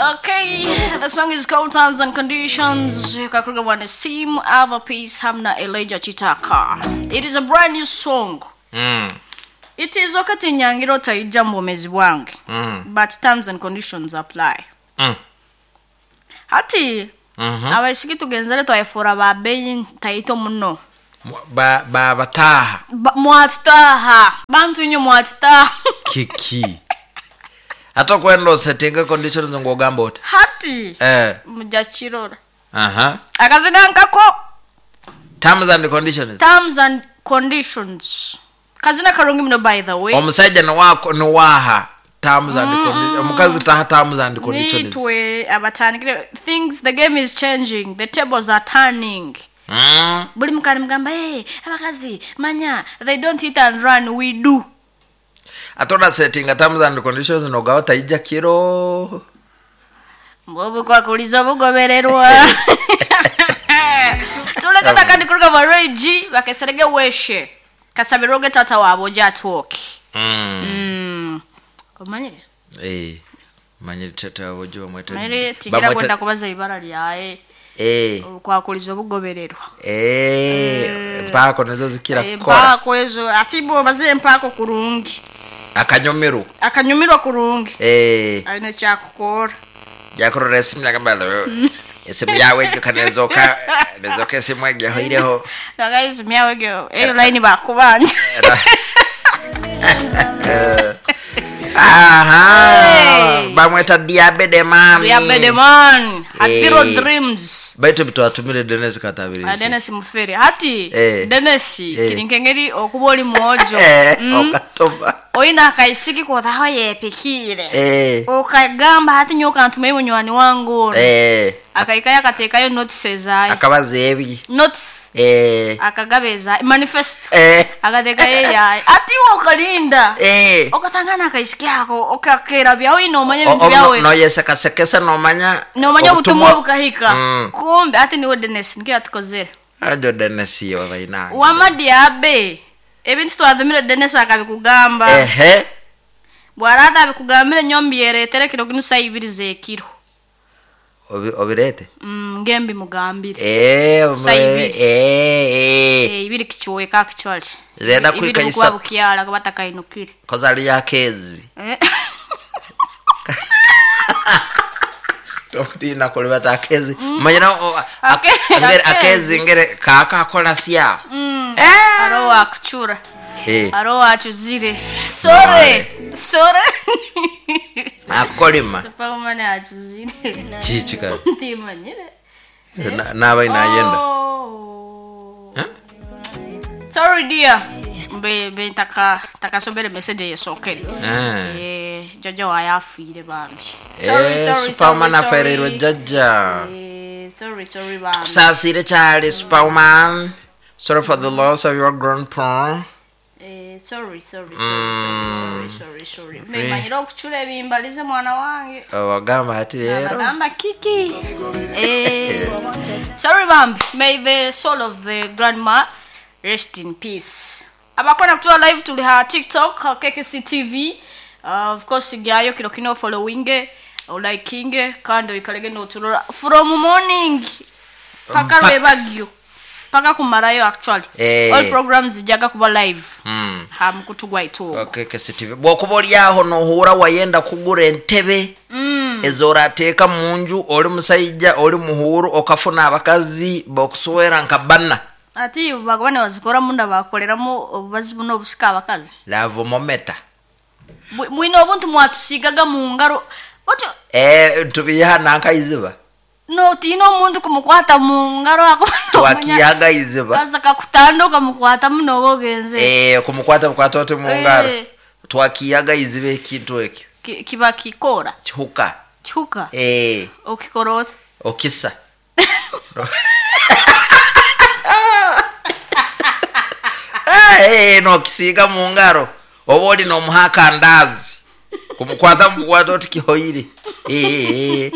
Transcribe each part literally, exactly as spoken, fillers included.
Okay, the song is called Terms and Conditions. Kakuruga Bwana Sim, Ava Peace, Hamna Elijah Chitaka. It is a brand new song. Mm. It is okay tinyangira otaija mu bwomezi bwange. Mm. But terms and conditions apply. Mm. Hati Mhm. abaishiki tugenzere twayefura ba beyi ntaito muno. Ba ba bataha Ba- Mwatutaha. Bantu inyo mwatutaha. kiki ate kwenda osetinga conditions ng'ogamba oti Hati eh mujja kirora. aha Akazina nkako terms and conditions terms and conditions. Kazina karungi muno by the way. omusajja niwako niwaha terms and conditions omukazi taha terms and conditions nitwe abatandikire things the game is changing the tables are turning mm. buli mukani mugamba hey, abakazi manya they don't hit and run we do ate onasetinga terms and conditions nogawa taija kiro obukwakuliza obugobererwa tuleke nakandi kuruga mu regi bakeserege weshe kasabiroge tata waabwe oja atwoke mm. mm. omanyire eh manyire tata wojo bamweta manyire tingira kwenda kubaza ibara lyaye eh obukwakuliza obugobererwa eh mpaako nazo zikira Eh, kukola mpaako ezo ati bwobaze empaako kurungi akanyumirwa akanyumirwa kurungi eh alina ekyakukora jakurora esimu nagamba lo esimu yawe ejo kanezoka nezoka esimu egyo hoireho naga esimu yawe egyo eyo layini bakubanja aha Hey. bamweta diabede mami diabede man hatiro Eh. dreams baitu bitwatumire Dennis Katabiri Ah, Dennis mufere hati Eh. Dennis Eh. kiri nkengeri okuba oli mwojo eh Mm. okatoma oyina akaisiki kothaho yepikire eh okagamba hati nyowe kantume munywani wange ono eh akaikayo akateekayo notice ezaye akabaza ebi notice eh akagaba ezaye manifesto eh akateekayo eyaye ati iwe okalinda eh okatangana akaisiki ako okakerabya oyina omanya ebintu O- o- byawe noyesekasekesa nomanya nomanya obutumwa obukahika Mm. kumbe ati niwe Dennis nikyo yatukozere ajo Dennis yo baina wama diabe ebintu twatumire Dennis akabikugamba ehe bwarata abikugambire nyombyeretere kiro kinu saa ibiri z'ekiro Obi- obirete mm, ngembi mugambire eh Saa ibiri. eh eh Eh, ibiri kichweka actually Zenda Ibiri kwika bukuba isa- bukyala kuba takainukire koza ali akezi Eh. tokutina kulibata akezi manyina o- a- Ake- ngere akezi. akezi ngere kaka akola sya Mm. Eh. aro wakuchura eh aro wachuzire sore sore akolima superwoman achuzire chichi ka ndimanyire Na- naba inayenda Oh. Huh? Sorry dear. Mbe mbe ntaka takasomere message yesokere. Eh. Eh, jaja waye afiire bambi. Sorry, Eh, sorry, superwoman sorry, afererwe sorry. jajja Eh, sorry, sorry bambi. kusasire kyali superwoman sorry for the loss of your grandpa Eh, sorry, sorry, sorry, sorry, sorry, sorry, sorry. Mbe manyire okuchula ebimbalize mwana wange. wagamba ati leero Nagamba kiki. Eh, sorry bambi. May the soul of the grandma rest in peace. Abakona kutuwa live tuli ha TikTok, ha K K C T V. Uh, of course gyayo kiro kino following, olikinge kandi oikalege n'oturora from morning paka Mpa- lwebagyo paka kumarayo actually. Eh. All programs zijaga kuba live. Mm. Ha mukutu gwaitu. Okay, K K C T V. Bw'okuba oli aho n'ohuura wayenda kugura entebe Mm. ezorateeka mu nju oli musajja oli muhuuru okafuna abakazi bokuswera nka banna Ati bagaba ne bazikora munda bakoleramu obubazi buno obusika abakazi. lavomometa Bwi- Mwine obuntu mwatusigaga mu ngaro. Otyo eh tubiha nankaiziba no tiina omuntu kumukwata mu ngaro ako. twakiyaga iziba Kaza kakutanda okamukwata muno oba ogenze. eh kumukwata mukwata oti mu ngaro Eh. twakiyaga iziba ekintu ekyo Ki- Kiba kikora. kihuka Kihuka. eh Okikora ota. okisa Eh, nokisiiga mu ngaro oba oli nomuha akandaazi kumukwata mukukwata oti kihoire Eh, eh.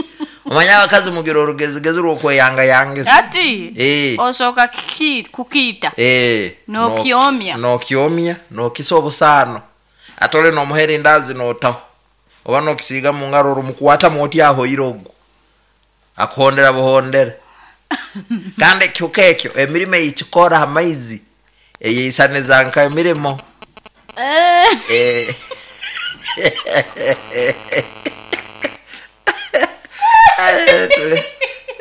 Omanya abakazi mugira orugezigezi rw'okweyangayangisa Ati Eh. osooka kiki- kukiita. Eh, N'okyomya. n'okyomya n'okisa obusaano ate oli n'omuha erindaazi n'otaho Oba nokisiiga mu ngaro orumukwatamu oti ahoire ogwo akuhondera buhondera. Kandi ekihuka ekyo emirimo eyikikora ha maizi eyeisaniza nka emirimo. Eh. Eh.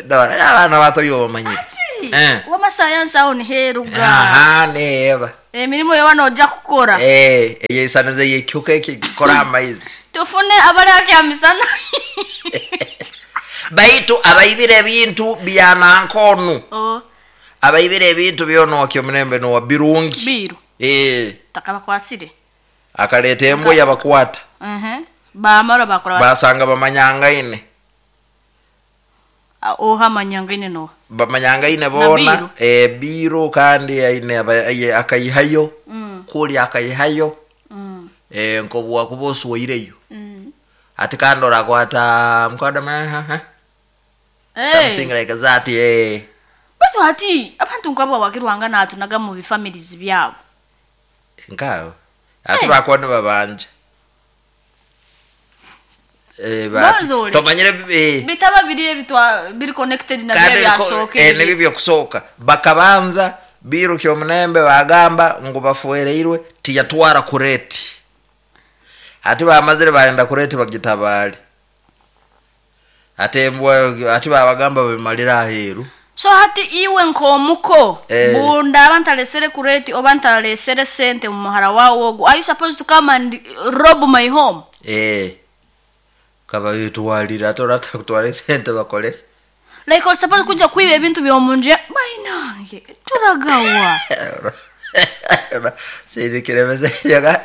Dora abaana bato yo bamanyire. Eh. Wamasayansi aho niheruga. Aha, neeba. Emirimu yoba nojja kukora. Eh, eyeisaniza ekihuka ekyo kikora amaizi. Tufune abali akyamisana. Baitu abaibire ebintu bya nankonu. Oh. Abaibire ebintu byonokyo omulembe nowa birungi. Biru. Eh. Takabakwasire. Akaleta embwa yabakwata. Mhm. Bamara bakora. Basanga bamanyangaine. Oha manyangaine no. Bamanyangaine bona eh biro kandi aine akayihayo. Mm. Kuli akayihayo. Mm. Eh nkobwa kubosuireyo. Mm. Ati kandi orakwata mkwada ma ha. Hey. Something like that eh. Batu ati abantu nkabo bakirwanga natunaga mu families byabo. Nkawo. Ati hey. Bakwana babanje. Eh bati tomanyire eh bitaba biri ebitwa biri connected na bya byasoke. Eh nibi byokusoka bakabanza biru kyo munembe bagamba ngo bafuereirwe tiyatwara kureti. Ati bamazire barenda kureti bagitabali. Ate mbwa ati babagamba bimalira aheru. So hati iwe nkomuko eh. Bunda abantalesere kureti obantalesere sente mu muhara wawo ogo. Are you supposed to come and rob my home? Eh. Kaba yitwalira atorata kutwala sente bakole. Like you're supposed kuja kuiba ebintu byomunje bayinange turagawa. Sirikiremeze yaga.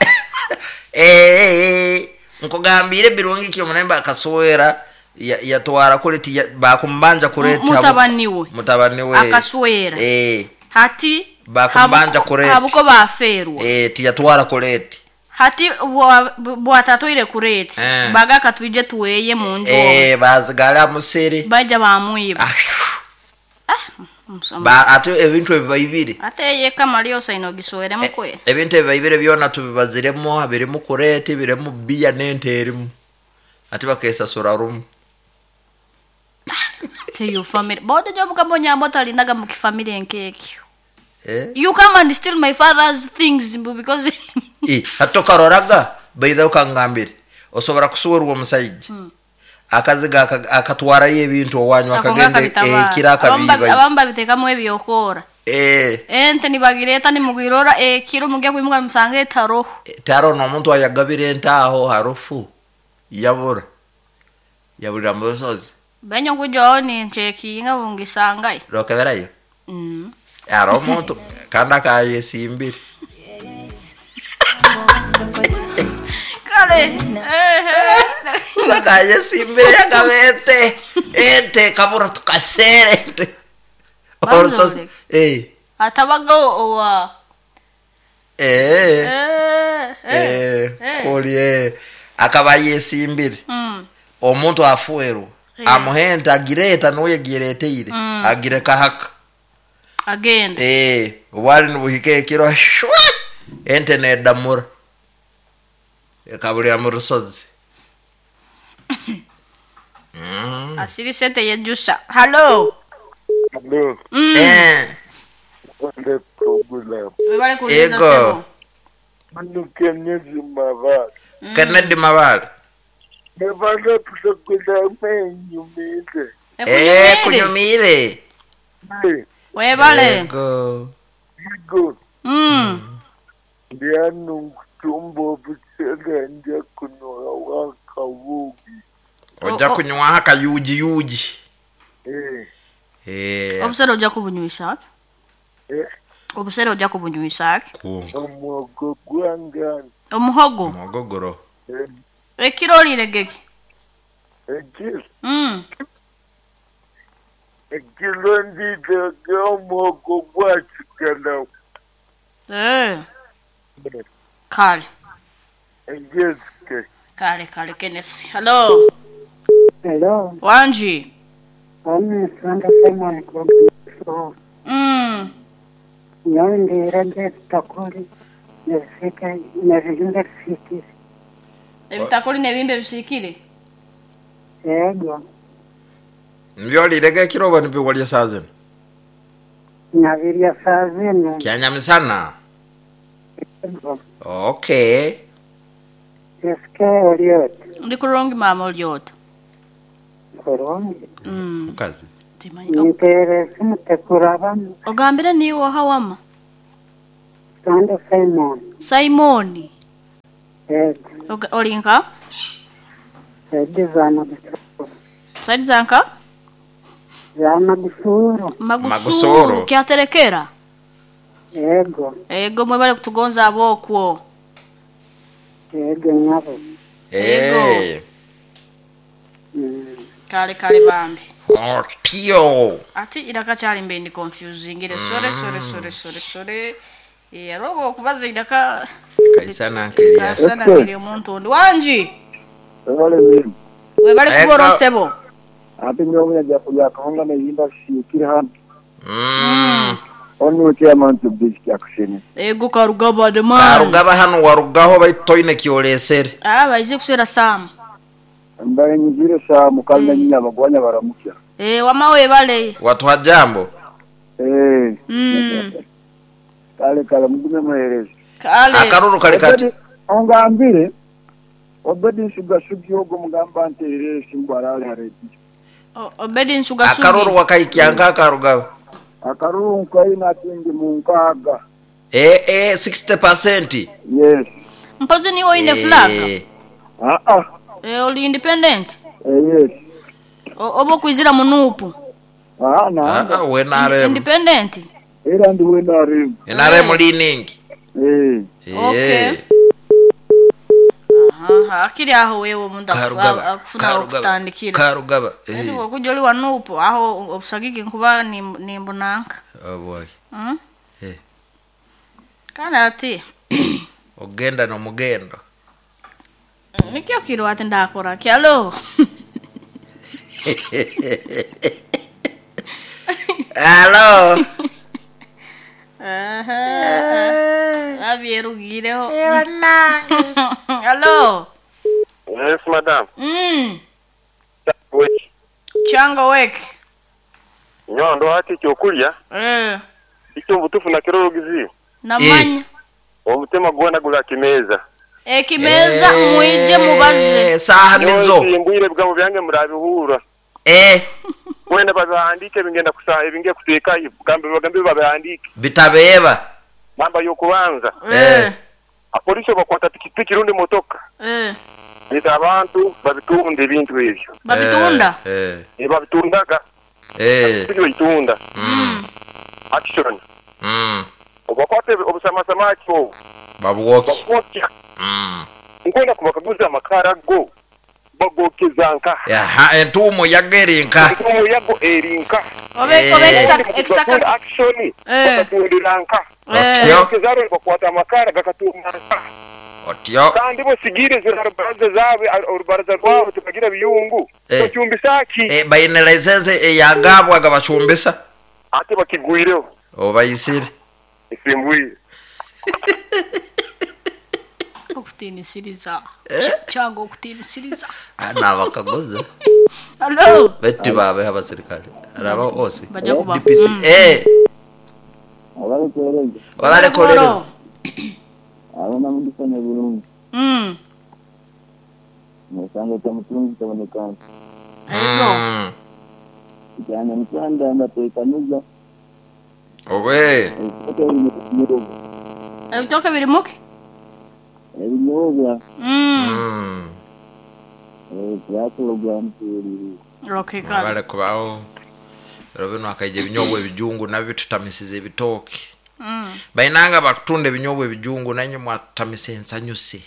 Eh nkugambire birungi kyo munemba akaswera yatwara kureti bakumbanja kureti mutabaniwe mutabaniwe akaswera eh hati bakumbanja kureti abuko baferwa eh tiyatwara kureti hati bwatatoire kureti eh. Baga katuje tuweye munjo eh bazigala musere baja bamwiba ah, ah ba ate ebintu ebibaibire ate yeka malio saino giswere mukwe eh, ebintu ebibaibire byona tubibaziremo birimu kureti birimu biya nente erimu ate bakesasura rumu. Te your family bodo jobu kabonya amota mu kifamily enkekyo. Eh? You come and steal my father's things because eh hatokaroraga baitha ukangambire osobora kusuwerwa omusajja hmm. Akaziga akatwarayo ebintu owanyu akagenda eh kiraka biba abamba bitekamu ebyokora eh ente nibagireta nimugirora eh kiro mugiye kwimuka musange taro taro no muntu ayagabire entaho harufu yabura yabura musozi benyo kujo ni nchekinga bungisangayo rokeberayo mm aro muntu kanda kayesimbire kale eh kayesimbire yakabete ente kabura tukasere ente orosozi eh atabaga owa eh eh eh koli akaba yesimbire mm omuntu afueru amuhenta agireta noye gireteire mm. Agire kahaka agenda eh wali nubuhike ekiro shwa ente nedamura ekabulira mu rusozi. Mm. Asiri sente yejusa. Hello. Hello. Mm. Eh. Wale program. Wale kuuliza Ego. Manu Kennedy Mabale. Mm. Kennedy Mabale. Nebala program enyumire. Eh kunyumire. Eh. Webale. Ego. Ego. Mm. Ndianu tumbo busele nja kunywa wakawugi. Oja kunywa haka yuji yuji. Eh. Eh. Obusere oja kubunywisa. Eh. Obusere oja kubunywisa. Omuhogo gwangani. Omuhogo. Omugogoro. Eh. Ekiro liregeki. Ekiro. Mm. Ekiro ndidege omuhogo gwakigala. Eh. Kale. Engezike. Kale kale Kenneth. Hello. Hello. Wanji. Ami Sanda Simon Kubuso. Mm. Nyondi rende takuri nesike nerinde fiti. Ebitakuli n'ebimbe bisiikire. Yego. Nbyolirege ekiro oba nibyo walya saa zino? Nabirya saa zino. Kyanyamisana. Yego. Okay. Eske oliot. Ndi kurungi mama oliota. Kurungi. Mm. Mukazi. Timanyi. Ntere simu tekurabamu. Ogambire niwe hawama. Sande Simon. Simoni. Yego. Oga- Olinka? Saidi za Magusuru. Saidi zanka? Za Magusuru. Magusuru. Magusuru. Kyaterekera. Yego. Ego mwebale kutugonza abokwo. Yego nyabo. Eh. Mm. Kale kale bambi. Otio. Ati iraka kyali mbe ndi confusing ile sore sore sore sore sore. Eh rogo okubaza iraka Kaisana nkelias. kasana kiri omuntu ondi wangi. Wale mimi. Webale Ego. kubora sebo. Ate nyowe nja kulya kahonga na yimba shikiri hano. Mm. Onu chairman to district action. Ego karugaba de man. Karugaba hano warugaho baitoine kyolesere. Ah baize kuswera sam. Mbaye nyigire saa mukalina nyina bagwanya baramukya. Eh wama webale. Watu hajambo. Eh. Mm. Kale kale mugume muhereze. Kale. Akaruru kali kati. Ongambire Obedi nsuga sugi ogo mugamba nterere simbwarale haredi. O- Obedi nsuga sugi. Akaruru wakaikyanga karugaba. Akaruru nkaina atingi munkaga. Eh eh sixty percent. Yes. Mpozi ni oine flag. Eh. Ah ah. Eh oli independent. Eh, yes. O- Obo kwizira munupu. Ah na. Ah we N R M. Independent. Era ndi wenda arimu. N R M leaning. Eh. Okay. Aha, akiri aho wewe omuntu Karugaba. akufuna Karugaba. okutandikira. Karugaba. Edi Eh. wokuja oli wanupu aho obusagiki nkuba nim- nimbunanka. Oh boy. Mm? Eh. Kandi ati Ogenda n'omugendo. nikyo kiro ati ndakora kyalo. Hello. Aha. Abyerugireho. Hello. Yes, madam. Mm. Weki. Chango wek. Nyondo hati ekyokulya Eh. ekyo obutuufu nakiro orugiziyo. Namanya. Omutima gwona gula kimeza. Ekimeza mwije mubaze. Saha nizo. Nyowe ebigambo byange murabihura. Eh. Wenda babihandike ebingenda kusa ebingiye kuteekayo gambe bagambe babihandike. Bitabeba. Namba y'okubanza. Eh. Apolisi bakwata pikipiki rundi motoka. Eh. Bita abantu babitunda ebintu ebyo. Babitunda. Eh. Eh, babitundaga. Eh. Pikipiki bayitunda. Mm. Action. Mm. Obakwata obusamasamaki obwo. Babwoki. Bakwokya. Mm. Nkwenda kubakaguza amakara go. Bagokeza nka. Aha, entuumo yagerinka. Entuumo yago erinka. Obe Eh. obe ekisaka ekisaka Action. Eh. Bakatundira nka. Eh. Otyo. Kezaro bakwata amakara gakatunda nka. Otyo. Kandi bosigire zirarubaraza zaabwe orubaraza rwabo tukagira biyungu. Eh. Bacumbisa ki? Eh, bayine license eyagabwa gabacumbisa. Ate bakigwireho. Obayisire. Esimbwire. Okutiinisiriza. Chango okutiinisiriza. Nabakaguza. Hello. Beti babe abasirikale. Araba ose. Bajja kuba. D P C. Eh, Abalekereza. wabale kolereza. Abana mudifanya bulungi. Mm. Musanga kya mutungi tabonekana. Ego. Mm. Kyanya mutanda ndatekaniza. Owe. Ebitoke biri Ebitoke biri muki? ebinyobwa. Mm. Mm. Eh, byakulogwa mutuliri. Okay, kale. Wabale kubaho. Rero bino akaija ebinyobwa ebijungu nabyo tutamisiza ebitooke. Mm. Bainanga bakutunda ebinyobwa ebijungu nanye mwatamisa ensanyuse.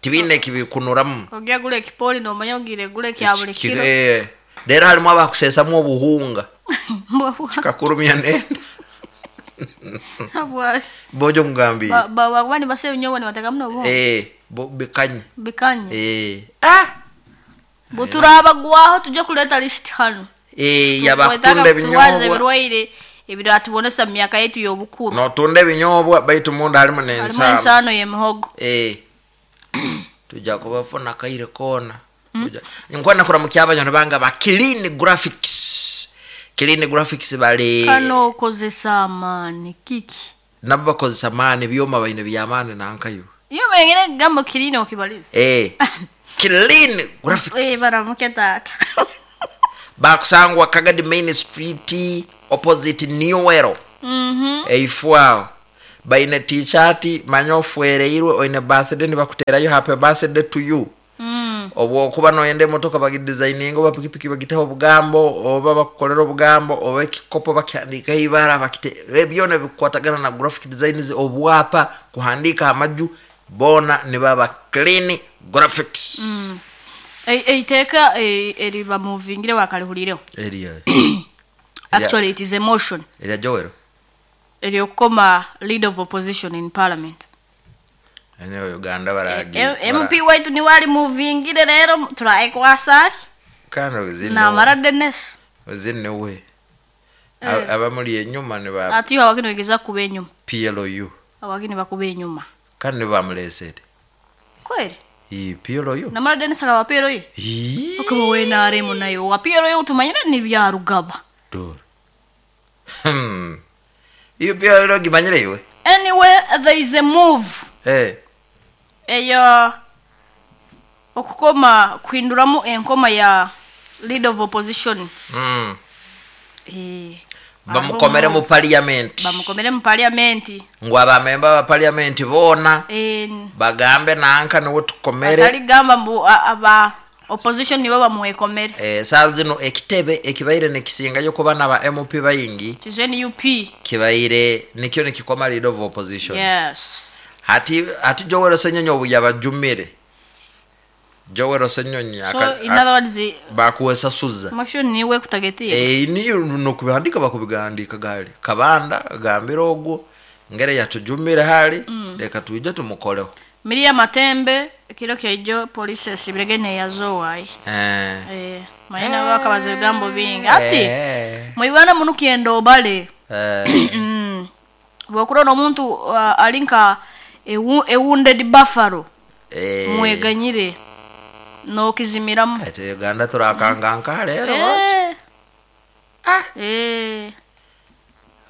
Tibiine kibikunuramu. Ogya gula ekipoli nomanya ogire gula ekya buli kiro. Eh, Rero harimu abakuseesamu obuhunga. Kakurumya nenda. Bwa Bojo ngambi. ba ba nibasa ebinyobwa nibatekamu n'obuhunga. Eh, bo bikanye. Bikanye. Eh. Ah. Buturabagwaho tujye kuleta list hano. Eh, Twetaaga yabakutunda kuturwaza ebinyobwa. ebirwaire ebiratubonesa mu myaka yetu y'obukuru. Notunda ebinyobwa baitu munda harimu Harimu n'ensaano. ensaano y'emihogo. Eh. Tujja kubafuna kaire kona. Nkwenda kuramukia abanyoni banga ba Clean Graphics. Clean Graphics bali Kano okozesa amaani kiki? Nabo bakozesa amaani, byoma baine byamaani nankayo. Iyo mengine gambo clean okibaliza. Eh. Clean Graphics. Eh, baramuke tata. Bakusangwa Kagadi Main Street opposite Newero. Mhm. Eifwao. Baine t-shirt manyofuereirwe oine birthday nibakuterayo happy birthday to you. Mm. Obwo kuba noyende motoka bagidesigninga oba pikipiki bagiteho obugambo oba bakukolera obugambo oba ekikopo bakihandika ibara bakite byona bikwatagana na graphic designs obwapa kuhandika amaju bona nibaba Clean Graphics. Mm. Eiteeka eriba movingire wakalihulireho. Eriya. Actually it is a motion. Eriya Joel. Eryokoma leader of opposition in parliament. Enero Uganda baragi. M P waitu ni wali movingire rero turaikwasa. Kano zino. Na mara Dennis. Zino we. Abamuli enyuma ne ba. Ati abakini wegeza kuba enyuma. P L O U. Abakini bakuba enyuma. Kano ne bamulesede. Kweli? I P L O U. Na mara Dennis ala P L O U. Ii. Okaba we na aremo nayo. Wa P L O U tumanyira ni bya rugaba. Dor. Hmm. Iyo P L O U gimanyire iwe. Anyway, there is a move. Eh. Eyo okukoma kuhinduramu enkoma ya leader of opposition. Mm. Eh. Bamukomere mu parliament. Bamukomere mu parliament. Ngo abamemba ba parliament bona. Eh. Bagambe nanka niwe tukomere. Ataligamba mbu aba opposition niwe bamuwekomere. Eh, saa zino ekitebe ekibaire nekisingayo kuba naba M P bayingi. Tizeni U P. Kibaire nikyo nikikoma leader of opposition. Yes. Hati hati Joel Ssenyonyi obu yabajumire. Joel Ssenyonyi So in other words bakuwesa suza. Motion niwe kutagetia. Eh niyo nokubandika bakubigandika gali. Kabanda gambira ogwo ngere yatujumire hali mm. Leka tuije tumukoleho. Miria Matembe kiro kyejo police esibiregene yazowa. Eh. Eh mayina eh. Bakabaza bigambo bingi. Ati eh. Mu Uganda munukiendo obale. Eh. Mm. Bwokurona omuntu uh, alinka a wounded buffalo. Eh. Mweganyire no kizimiramu. Ate Uganda turakanganka rero eh. Ah. Eh.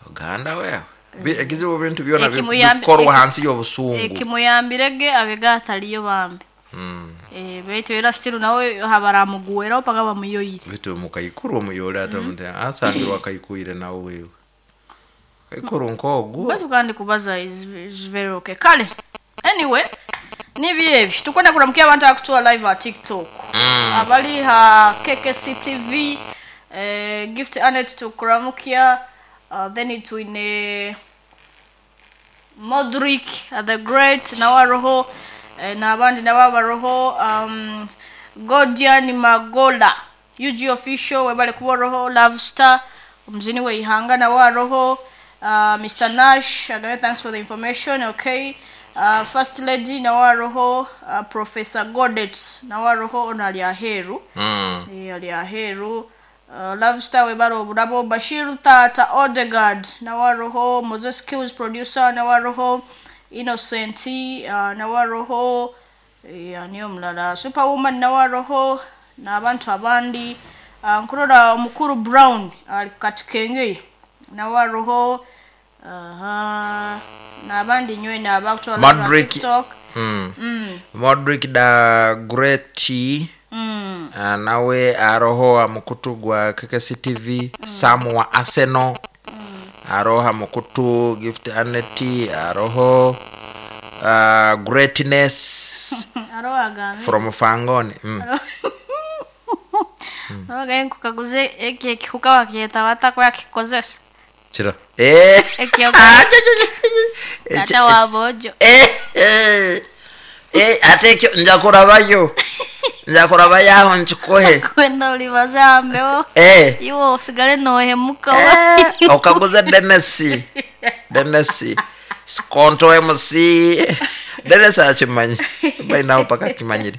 Uganda wewe. Ekizibu bintu byona bikorwa hansi y'obusungu. Ekimuyambirege abega ataliyo bambi. Mm. Eh betu era still nawe habaramuguwera paka bamuyoyire. Betu mukayikuru omuyole ata mute asangirwa kayikuire nawe wewe. Kayikuru nkogu. Betu kandi kubaza is, is very okay. Kale. Anyway, nibi ebi tukwenda kuramukia abantu akutuwa live at TikTok. Mm. Abali ha K K C T V eh, Gift Anet tukuramukia uh, then it wine Modric the Great na waroho eh, na abandi na babaroho um, Godian Magola U G official webale kuboroho Love Star mzini we ihanga na waroho uh, Mister Nash again thanks for the information okay. Uh, First Lady na waroho uh, Professor Godet na waroho onali aheru mm. e, ali aheru uh, Love Star webaro obulabo Bashir Tata Odegaard na waroho Moses Kills producer na waroho Innocent uh, na waroho e, niyo mlala Superwoman na waroho na abantu abandi uh, nkurora omukuru Brown ali katikenge na waroho aha uh, na abandi nywe na abakutwala Modric TikTok mm. Mm. Modric da Great mm. uh, nawe aroho amukutu gwa K K C T V mm. Sam wa Arsenal mm. aroha mukutu Gift Aneti aroho uh, Greatness aroho agambe from Fangoni mm. mm. Aroho agambe kukaguze eki ekihuka wakieta watakwa kikozesa Chira. Eh. Tata wa bojo. Eh. Eh. Eh, ate nja kurabayo. Nja kurabayo aho nchikohe. Kwenda ulibaza ambeo. Eh. Iwo usigale nohemuka. Eh, okaguza Dennis. Dennis. Skonto M C. Dennis akimanyi bainaho paka akimanyire.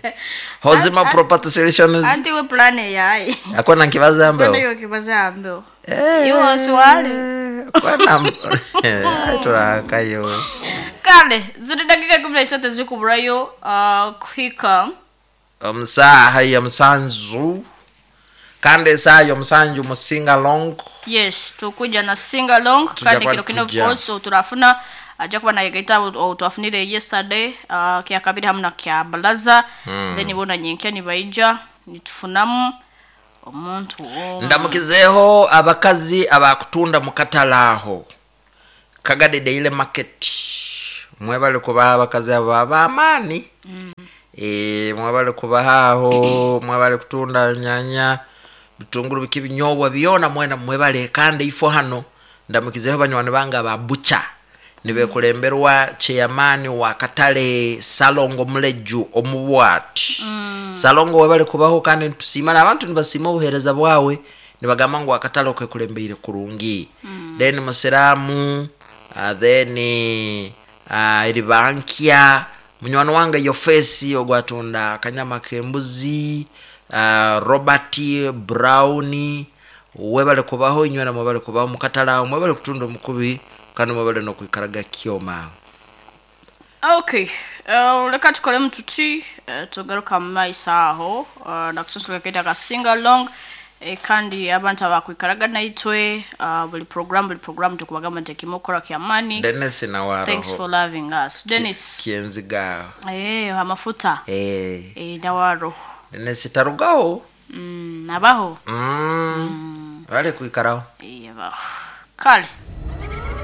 Hozima An- an- Property Solutions Anti we plan yayi. akona nkibaza Kwenda mbeo yo kibaza mbeo. Eh, Iwo swali. kwana turakayo. Kale ziri dakika kumi na isatu zikuburayo uh, kuhika Omusaha ya musanzu kandi esaha y'omusanju mu singalong. Yes, tukuja na sing along. Tujja Kandi kuba kiro kino tujja. also turafuna ajja kuba nayegaita twafunire yesterday uh, kya kabiri hamu na kya balaza mm. Then bona nyenkya nibaija nitufunamu omuntu omu. Ndamukizeeho abakazi abakutunda mu katale aho Kagadi Daily Market, mwebale kubaha abakazi abo ab'amaani. mm. E, mwebale kubaha aho, mwebale kutunda nyanya, bitunguru, biki, binyobwa byona, mwena mwebale. Kandi ifo hano ndamukizeeho banywani bange aba bucha nibekulemberwa chairman wa katale Salongo Muleju omubwati. mm. Salongo webale kubaho kandi nitusiima n'abantu nibasiima obuheereza bwawe, nibagamba ngu akatale okekulembeire kurungi. mm. Then musiramu uh, then uh, eribankya munywani wange Yofesi ogwatunda akanyama k'embuzi, uh, Robert Brown, webale kubaho inywena, mwebale kubaho mukatale aho, mwebale kutunda omukubi kandi mwebale n'okwikaraga kyoma. Okay, uh, leka tukolemu tuti uh, tugaruka mu maiso aho uh, nakusansula kaita ka sing along eh, kandi abantu abakwikaraga naitwe uh, buli program buli program tukubagamba nti ekimukora kyamani. Dennis nawe Thanks aroho for loving us, Dennis. Kyenziga. Eh, amafuta. Eh, eh, nawe aroho. Dennis tarugaho. mm, abaho. mm. Bale kwikaraho. Eh, abaho kale.